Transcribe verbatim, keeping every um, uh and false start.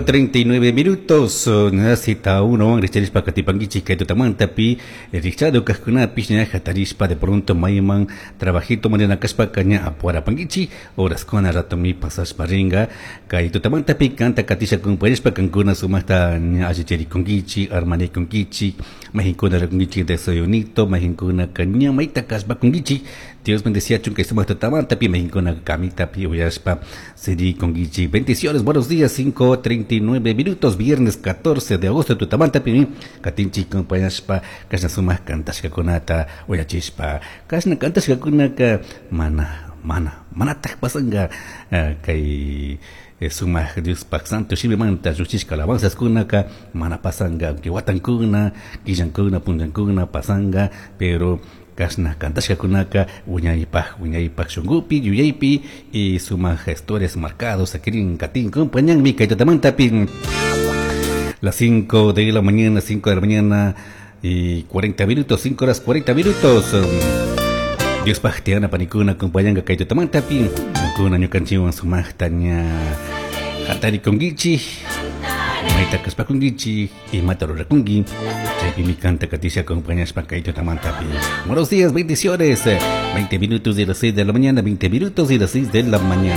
Treinta y nueve minutos, cita uno, richarishpa katipankichik kay tutamantapi, richado kajkunapish ña hatarishpa de pronto mayman trabajito manina kashpaka ña apuarapankichik, horaskuna ratomi pasashpa ringa. Kay tutamantapi kanta katisha kumpayashpa kankuna sumaqta ña allicharikunkichik, armanikunkichik, majinkuna rikunkichik desayunito, majinkuna ña mayta kashpakunkichik. Dios bendeciachun kay sumaq tutamantapi majinkuna kamitapi uyashpa sirikunkichik. Bendiciones, buenos días, cinco treinta y nueve minutos, viernes catorce de agosto, tutamantapi katinchik kumpayashpa kashna sumaq kantashkakunata uyachishpa. Kashna kantashkakunaka mana mana manataq pasanka, kay sumaq Diospaq santo shimimanta lluchishka alabanzaskunaka mana pasanka, aunque watankuna, killankuna, punllankuna pasanga, pero kashna kantashkakunaka wiñaypaq wiñaypaq shunkupi, yuyaypi y sumaq historias marcados sakirin katin compañanmi kay tutamantapi. Las cinco de la mañana, cinco de la mañana y cuarenta minutos, cinco horas cuarenta minutos. Diospaq tiyana panikuna acompañanga kay tutamantapi, kuna ñukanchikwan sumaqta ña hatarikunkichik, mayta kashpakunkichik, imata rurakunki, chaypimi kanta katisha acompañashpa kay tutamantapi. Buenos días, bendiciones. veinte minutos de las seis de la mañana, veinte minutos de las seis de la mañana.